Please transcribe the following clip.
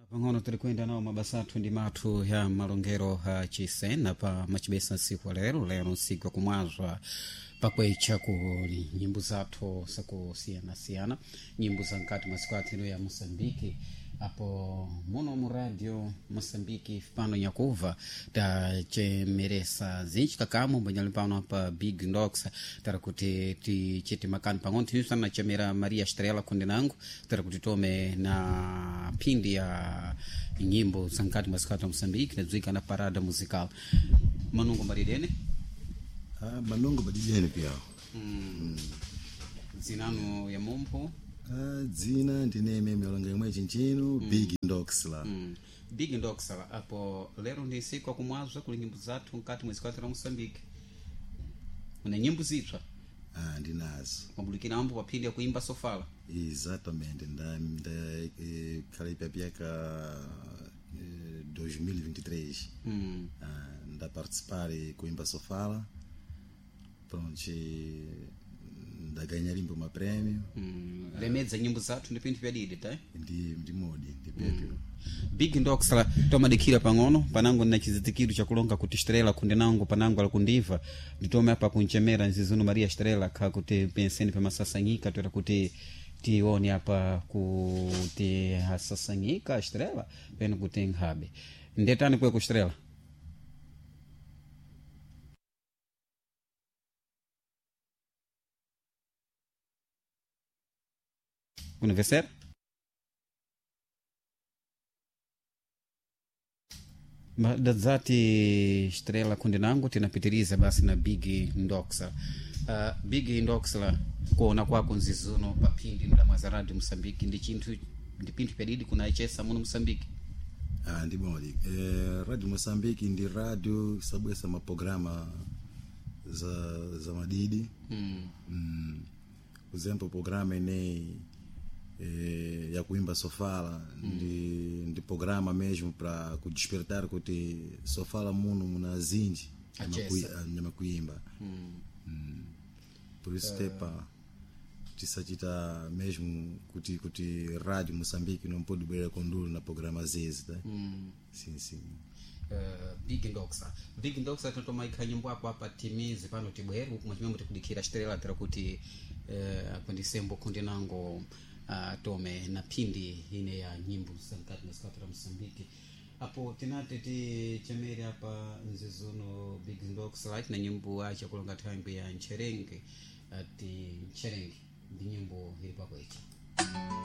Pang'ono tiri kuyenda nawo mabasa athu ndi mathu ya malongero chisena pa machibesa nsiku lero lero nsiku yakumwazwa pakwecha ku nyimbo zathu zakusiyanasiyana, nyimbo za mkati masiku athu ya Moçambique, apo muno mu radio Moçambique pano nyakuva tachemeresa zinji kakamo mbanyali pano pa Big Ndox, tara kuti tichite makani pang'ono tinisana chemera Maria Estrela kundenango, tara kuti tome na phindi ya nyimbo za mkati masiku athu ya Moçambique nadziwika na parada musical manungo maridene. Ah, manungo madidene pyawo. Zinanu ya mumpho? Ah, dzina ndine imene yalonga imwe chinchino Big Ndoxla. Big Ndoxla, apo lero ndi siku akumwazwa kuli nyimbo zathu mkati mwezi kwathu la Moçambique, una nyimbo zitswa? Ah, ndinazo. Mabulikira ambo paphindi ya kuimba sofala. Exatamente, nda khala ipyapyaka 2023. Ah, nda participar kuimba sofala, pronto, ndaganha limbo maprêmio. Lemedza nyimbo zathu ndi pinthu pyadidi ta. Ndi modi ndi pyepyo. Big Ndoxla, tomadikira pang'ono panango na chizitikiro chakulonga kuti Estrela kundenango panango alikundiva, nditome apa kunchemera nzizuno Maria Estrela kha kuti penseni pamasasanyika toera kuti tione apa kuti asasanyika Estrela pene kuti nkhabe ndetani kwe ku Estrela. Kunivesera dadzati Estrela kundinango tinapitiriza basi na Big Ndoxla. Big Ndoxla, kuona kwako nzizuno paphindi mdamwaza radio Moçambique ndi chinthu ndi pinthu pyadidi kunaichesa muno Moçambique? Ah, ndi modi radio Moçambique ndi radio sabwesa maprograma za madidi. Por exemplo, programa ineyi ya kuimba sofala ndi programa mesmo para kudespertar kuti sofala muno muna zinji Achesa. nyama kuimba. Por isso tepa tisachita mesmo kuti radio Moçambique não pode beber condulo na programa zezi, tá? Sim, sim. Big Ndoxa, Big Ndoxa, tatomaikha nyimbo apo apa timizi pano tibwere uku mwachimwemwe tikudikira Estrela tira kuti akundisembo kundinango tome na phindi ine ya nyimbo zamkati masiku la Moçambique, apo tinati tichemere apa nzizuno Big Ndoxa right na nyimbo achakulonga thangwi ya Ncherenge, ati Ncherenge ndi nyimbo ili pakwecha.